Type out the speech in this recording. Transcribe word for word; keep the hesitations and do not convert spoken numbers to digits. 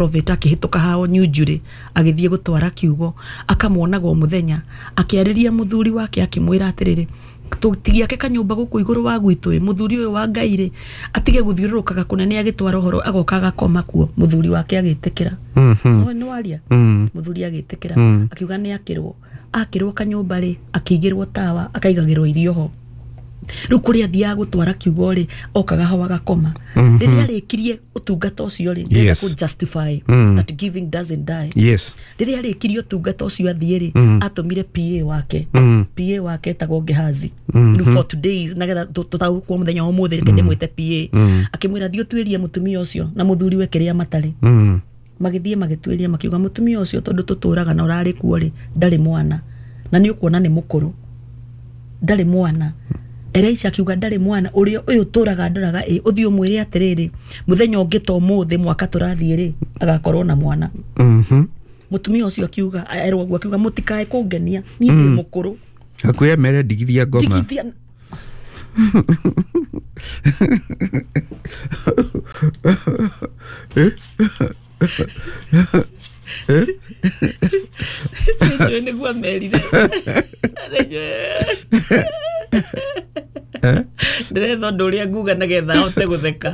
Prophet akĩhĩtũka hao New Njuri agĩthiĩ gũtwara kiugo, akamuonaga o mũthenya. Akĩarĩria mũthuri wake, akĩmwĩra atĩrĩrĩ, tũtigiake kanyũmba gũkũ igũrũ wa gwitũ ĩ, mũthuri ũyũ wa Ngai rĩ, atige gũthiũrũrũkaga kũnene agĩtwara ũhoro, agoka agakoma kuo. Mũthuri wake agĩtĩkĩra. Mhm. Nĩ waria. Mm. Mũthuri agĩtĩkĩra. Mm. Akiuga nĩ akĩrwo akĩrwo kanyũmba rĩ, akĩigĩrwo tawa, akaigagĩrwo irio ho. Rĩu kũrĩa athiaga gũtwara kiugo rĩ, okaga ho agakoma. Rĩrĩa arĩkirie ũtungata ũcio rĩ, ndĩrenda Yes. kũ justify Mm. that giving doesn't die. Yes. Rĩrĩa arĩkirie ũtungata ũcio athiĩ rĩ, Mm. atũmire P A wake. Mm. P A wake etagwo Gehazi. Mhm. Rĩu for todays, nagetha tũtaũkwo mũthenya wa ũmũthĩ, reke ndĩmwĩte P A. Mm. Akĩmwĩra, thiĩ ũtuĩrie mũtumia ũcio na mũthuri we kĩrĩa matarĩ. Mm. Magĩthiĩ magĩtuĩria, makiuga mũtumia ũcio, tondũ tũtũraga na ũrarĩ kuo rĩ, ndarĩ mwana, na nĩ ũkuona nĩ mũkũrũ, ndarĩ mwana. Elisha akiuga, ndarĩ mwana, ũrĩa ũyũ tũraga ndoraga ĩ, ũthiĩ ũmwĩre atĩrĩrĩ, mũthenya ũngĩ ta ũmũthĩ mwaka tũrathiĩ rĩ, agakorwo na mwana. Mhm. Mũtumia ũcio akiuga, erwo ũguo, akiuga, mũtikae kũngenia, niĩ ndĩ mũkũrũ. Hakuhĩ mere ndigithia ngoma. Ndigithia. Nĩnjũĩ nĩguo amerire. Nĩnjũĩ. Ndĩretha ũndũ ũrĩa nguga nĩgetha ahote gũtheka.